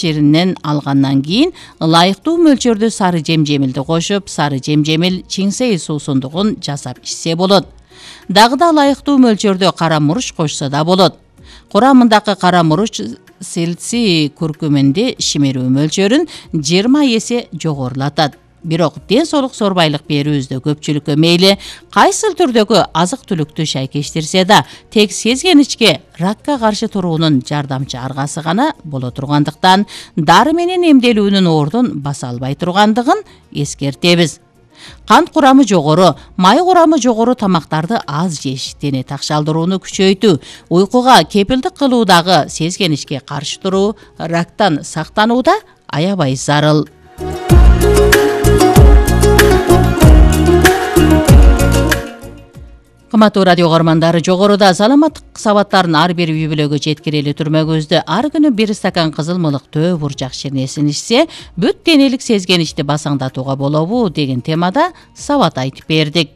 ширинен алгандан кийин ылайыктуу мөлчөрдө сары жемжемилди кошуп, сары жемжемил чиңсей суусундугун жасап ичсе болот. Дагы да ылайыктуу мөлчөрдө кара мурч кошсо да болот. Курамындагы кара мурч силций куркуминди шимирүү мөлчөрүн 20 эсе жогорулатат. Бирок ден соолук сорбайлык берүүбүздө көпчүлүккө мейли кайсыл түрдөгү азык-түлүктү шайкештирсе да, тек сезгеничке ракка каршы туруунун жардамчы аргасы гана боло тургандыктан, дары менен эмделүүнүн ордун баса албай тургандыгын эскертебиз. Кант курамы жогору, май курамы жогору тамактарды аз жеш, дене такшалдырууну күчөйтүү, уйкуга кепилдик кылуудагы сезгеничке каршы туруу, рактан сактанууда аябай зарыл. Кымбаттуу радио көрөрмандары, жогоруда саламаттык сабаттарын ар бир үй бүлөгө жеткирели түрмөгүбүздө ар күнү 1 стакан кызыл мылык төө буржак ширнесин ичсе, бүт денелик сезгеничти басаңдатууга болобу деген темада сабат айтып бердик.